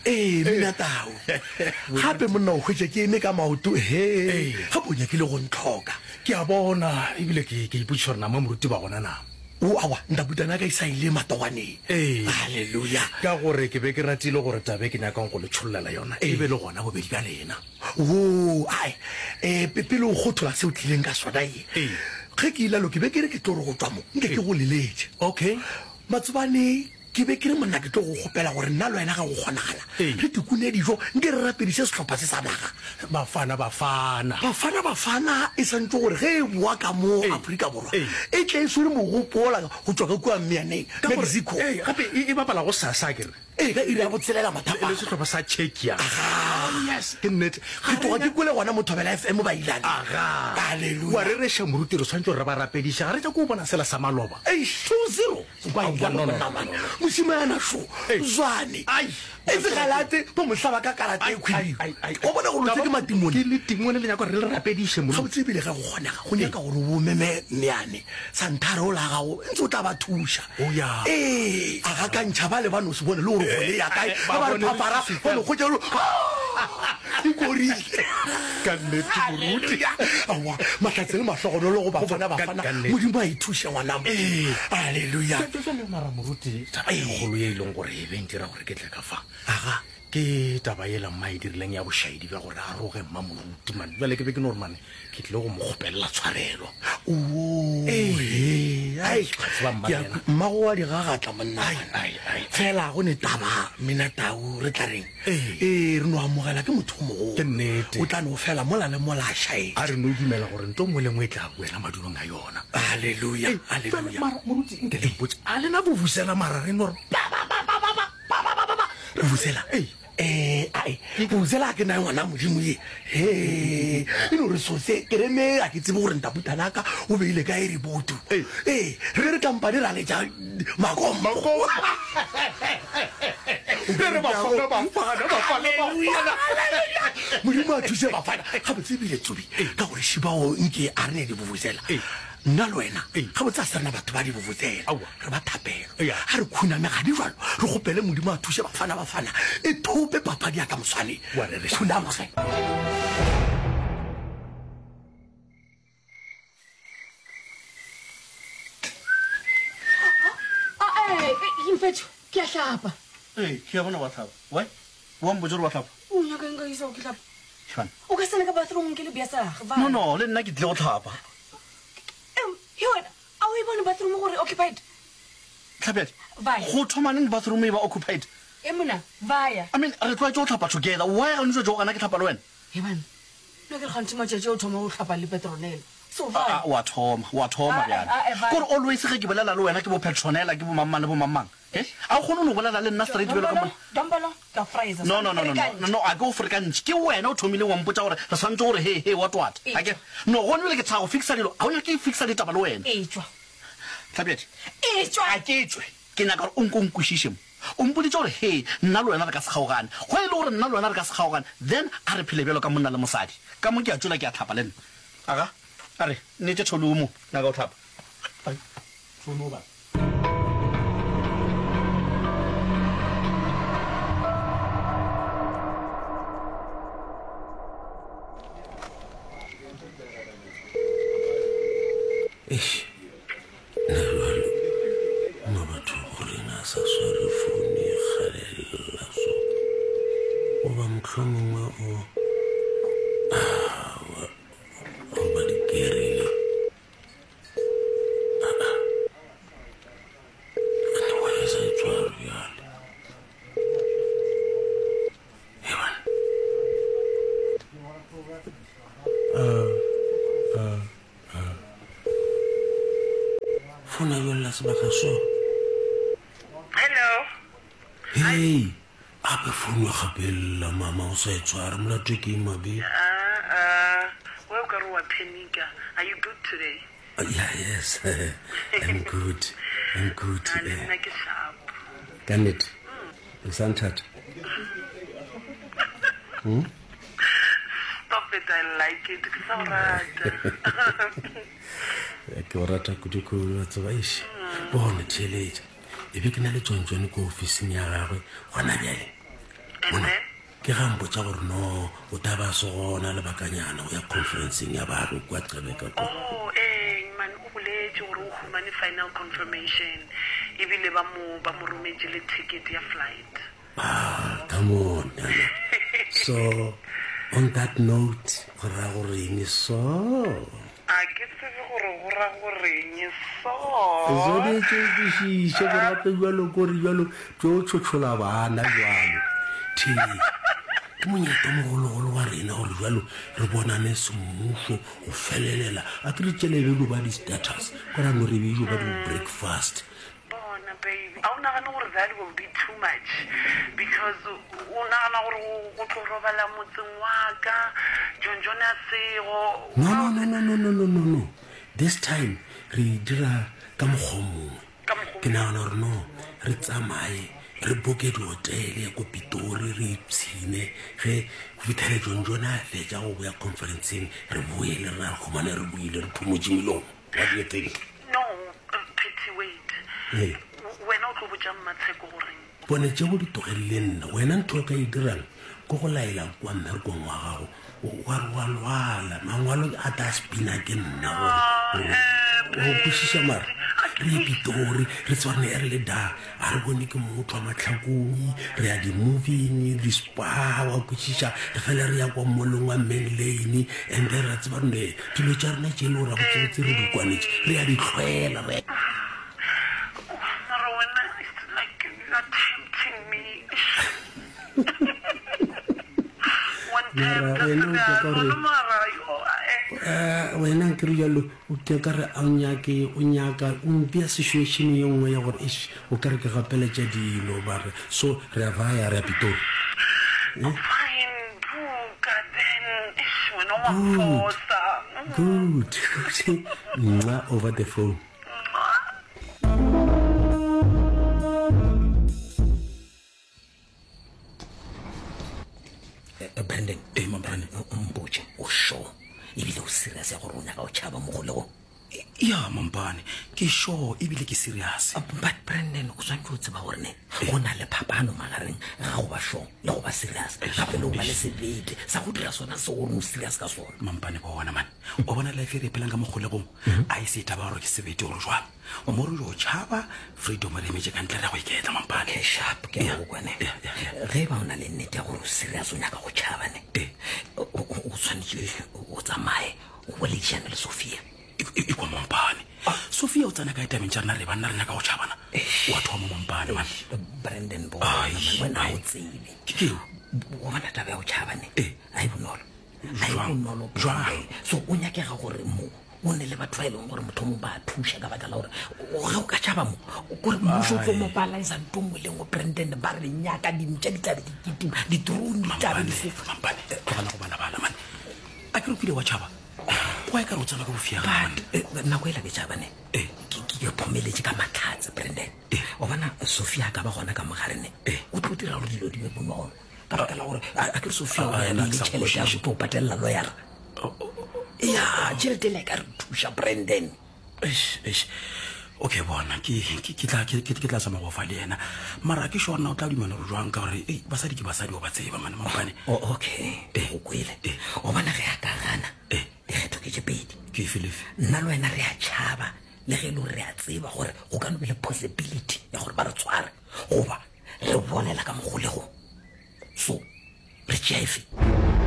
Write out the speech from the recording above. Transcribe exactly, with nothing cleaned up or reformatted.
Ee, mina tau. Gape monna o hwetše ke eme ka maoto, he. Gape o nyakile go ntlhoka. Ke a bona, ebile ke ke ipotšiša gore na mo moruti ba gona na. O, aowa, ntabutana ya ka e sa ile matogwaneng. Ee. Haleluya. Ka gore ke be ke ratile gore taba e ke nyakang go le tšhollela yona e be le gona bobedi bja lena. Woo, ae, e, pe, pele o kgothola se o tlileng ka sona ye. Ee. Ge ke ilalo ke be ke re ke tlo re go tšwa mo, nke ke go leletše. Okay. Matsobane ke be ke re monna ke tlo go kgopela gore nna le wena ge go kgonagala Ee. re tikune dijo nke re rapediše sehlopha se sa naga. Bafana Bafana. Bafana Bafana e swantše gore ge e boa ka mo Ee. Afrika Borwa Ee. e tle e swere mogopo wola go tšwa ka kua Mmeaneng, Ka gore, Mexico. ee, gape e, e bapala go sasa akere? Ee, ka iri ya botshelela Le, le mathapama. sehlopha sa Czechia. Aga. Oh, yes, ke nnete. Ke tloga ke kwele gona mo Thobela F M ba ilane. Aga. Haleluya. Wa rereša moruti, re swantše gore re ba rapediše. Ga re nyake go bona sela sa maloba. Eish. Two zero. Ba Aowa, ilane no, no, monna no, man. no, no. Mošemane šo. Ei. Zwane. Ai. E se galate, ba mo hlaba ka karata e Ai, khwibidu. ai, ai, ai. Wa bona gore tse ke matimone. Ke letimone le nyaka gore re le rapediše, moruti. Gabotse ebile ge go kgonega, go nyaka gore o meme Mmeane, Santhare ola gago, ntse o tla ba thuša. Oh, ya. Ee, a gakantšha bale ba no se bone le gore kgole ya kae. Eh, Ba ba re ba bone phapara, ba no hwetša gore, ah, e korile. Ka nnete, moruti. Hallelujah. Aowa, mahlatse le mahlogonolo go bafana, Ka- bafana. ka nnete. Modimo a e thuše ngwana mo. Ee. Hallelujah. Jwale, jwale mara moruti, taba e kgolo ye e leng gore e be ntira gore ke tle ka fa. Aga. Ke taba yela mma e dirileng ya bošaedi bja gore a roge mma moruti man. Bjale ke be ke no gore mane ke tlile go mo kgopelela tshwarelo. Oo, Ee. he. Ai, Ai, ga tseba mma ke a le yena. mmago wa di gagatla monna. Ai, ai, ai. Fela go ne taba mina tau re tla reng? Ee. Ee, re no amogela ke motho o mogolo. Ke nnete. O tla no fela mola le mola a šaetše. A re no dumela gore nto nngwe le nngwe e tla boela madulong a yona. Hallelujah, Ei, hallelujah. jwale mara moruti nke le mpotše, a lena vuvuzela mara re no re ba, ba, ba, ba, ba, ba, ba, ba, ba, ba, ba. Vuvuzela? Ei. Eh, ae, vuvuzela ke nae ngwana Modimo ye. He, e no re sose, ke re me a ke tsebe gore ntaputanaka o beile kae reboto. Ei. Ee, re be re kampane ra letša makompo. Makompo. Re re bafana, bafana, bafana, bafana. Modimo a thuse bafana. Gabotse ebile Tsobi, ka gore šibao nke a re ne di vuvuzela. Ei. Nna le wena, Ei. gabotse a se rena batho ba di vuvuzela. Aowa. Re ba thapelo. Eya. A re khuname ga di jwalo, re kgopele Modimo a thuse bafana, bafana. E thope papadi ya ka moswane. Wa rereša. Khunama ge. Ah, eh, eh, Mfethu, ke a hlapa. Ee, ke a bona wa hlapa. Why? Wa mpotša gore wa hlapa? O nyaka eng ka isa o ke hlapa? Shana. O ka sena ka bathroom ke le bja sa gage, No, no, le nna ke tlile go hlapa. Em, he wena, a o e bone bathroom gore occupied? Tlhapjadi. Vaya. Go thoma neng bathroom e ba occupied? E mona, vaya. I mean, re tlwaetše go hlapa together. Why ga o ntse o gana ke hlapa le wena? He bana, nna ke re gantši matšatši o thoma go hlapa le Petronella. So Ah, vaya. ah, wa thoma, wa thoma Ah, bjale. ah, ah, vaya. Kore always ge ke bolela le wena ke bo Petronella, ke bo mang-mang le bo mang-mang. Eh? A o kgone no bolela le nna straight bjalo ka monna? Dombolo, ke a fraisa. No, no, no, no, no, no, no, a ke o frekantšhe. Ke wena o thomileng wa mpotša gore re swanetše gore he, he, what, what. Etšwa. A ke, no, gone bjale ke tshaba go fixa dilo. Ha o nyake ke fixa ditaba le wena. Etšwa. Tlhapjadi. Etšwa. A ke tšwe. Ke nyaka gore o nko nkwešiše mo. O mpoditše gore he, nna le wena re ka se kgaogane. Go e le gore nna le wena re ka se kgaogane, then a re phele bjalo ka monna le mosadi. Ka mo ke a tšwela ke a hlapa le nna. Aga, a re, nnete tholo mo, nyaka go hlapa. Ai, tholo ba. Eish, nna jwalo, mma batho gore na sa sware founu e kgalela so. Goba mohlomongwe o, aowa, goba di kerile. Ah, ah. Kganthe why a sa e tshware bjale? Hei bana. Ah, ah, ah. Founa jwale sebaka so. Hello. Hey, ape founu ya gapella mama o sa e tshware molato ke eng mabe? Ah, ah, wa o ka re wa panica. Are you good today? Uh, yeah, yes. I'm good. I'm good. Ah, le Eh, nna ke sharp. Ka nnete. O sa nthata? Hmm? Stop it, I like it. Ke sa o rata. Ke o rata kudu-kudu wa tseba eish. Bona theeletša. E be ke na le tswantswane ko ofising ya gagwe gona bjale. And then? Ke ga mpotša gore no o tla ba se gona lebakanyana go ya conferenceng ya baagi kua Qebeka kwa. Oh, ee, man, o boletše gore o humane final confirmation ebile ba mo ba mo rometše le ticket ya flight. Ah, come on, Nana. So, on that note, go ra gore eng so? A ke tsebe gore go ra goreng so. Swanetše o kwešiše gore gape bjalo kore bjalo tlo tšhotšhola bana bjalo. Thee, ke monyetla o mogologolo wa rena gore bjalo re bonane semmušo go felelela. A ke re tšele be ba di-status, kora no re be ba di-breakfast. Bona baby, a o nagane gore that will be too much because o nagana gore go tlo robala motseng wa ka John John a sego. No, no, no, no, no, no, no, no, no. This time re e dira ka mokgwa o mongwe. Ka mokgwa Ke nagana gore no re tsamaye re boke dihotele ko Pitori re ipshine ge go fitlhele John John a fetša go boya conferenceng re boele re re humane re boile re phumotše melomo. What do you think? No, uh, Patty, wait. Ee. Wena o tlo botša Mmatsheko goreng? Bone tšeo di tlogelele nna. Wena ntho o ka e dirang ke go laela kwa mmerekong wa gago wa re wa lwala mangwalo a tla spina ke nna gore o kwešiša mara re ye Pitori re tshwane e re le da a re bone ke motho wa mahlakong re ya di-moving di-spa wa kwešiša re fele re ya kwa mallong wa Main Lane and then ra tseba ne dilo tša rena tše e le gore gabotsebotse re di kwanetše re ya di tlhwela re Mara wena it's like you are tempting me. One Mara tempta wena o nyaka sebjalo, gore no mara yo, eh. Eh, wena ke re jalo o ke ka re a o nyake o nyaka o mpea situation ye nngwe ya gore eish o ka re ke gapeletša dilo ba re so re a vaya re ya Pitori. Fine, buka then. Eish, wena wa Good. mfosa. Good. Nna over the phone. Eh, Brandon Ee, Mampane. o mpotše o sure ebile o serious ya gore o nyaka o tšhaba mo kgolegong? Ya Mampane, ke sure ebile ke serious. But Brandon o tshwanetse o tseba gore ne go na le phapano magareng ga go ba sure le go ba serious, gape le go ba le sebete sa go dira sona se gore o serious ka sona. Mampane bona man, o bona life e re e phelang ka mo kgolegong a e se taba gore ke sebete gore jwang mo re yo tšhaba freedom re emetše ka ntle re ya go iketla Mampane. Okay, sharp ke Yeah. go kwane. Yeah, yeah, yeah. Ge ba o na le nnete ya gore o serious o nyaka go tšhaba ne Eh. o o- o tshwanetse o tsamaye o boledišane le Sophia. E- e e kwa Mampane, Sophia o tsena kae tabeng tša rena re banna re nyaka go tšhabana wa thoma Mampane man. Brandon bona Ai, man, wena ai. o tsebe. Ke keng? O bona taba ya go tšhaba ne Eh. a e bonolo a e Jwang? bonolo Jwang? Brandon. So o nyakega gore mo o ne le batho ba e leng gore motho mongwe ba a thuša ka baka la gore o- ge o ka tšhaba mo kore mmušo o tlo mobiliza nto nngwe le nngwe Brandon ba re nyaka dintša di tlabe di kitima di-drone di tlabe di Mampane, fofa. Mampane tlogela go balabala man a ke re o kile wa tšhaba kwa e ka re o tsena ka bofiaga man. But eh, nako e la ke tšhaba ne Eh. ke ke phomeletše ka matlhatse Brandon. Eh. O bona Sophia a ka ba gona ka mogare ne Eh. o tlo dira gore dilo di be bonolo ka baka la gore a a ke re Sophia o Ah, be a nna beile ke sa tšhelete ya kwešiše. go tlo patelela lawyera. Ya tšhelete le e ka re thuša Brandon. Eish, eish. Okay bona ke ke ke tla ke ke tla zama go fa le yena mara ke sure na o tla dumela gore jwang ka gore ei basadi ke basadi o ba tseba mane Mampane. O okay Eh. go kwele. Eh. O bona ge a ka gana Eh. dikgetho ke tše pedi. Ke efe lefe? Nna le wena re a tšhaba le ge e le gore re a tseba gore go ka no be le possibility ya gore ba re tshware goba re bolela ka mogolegong. So re tšea efe?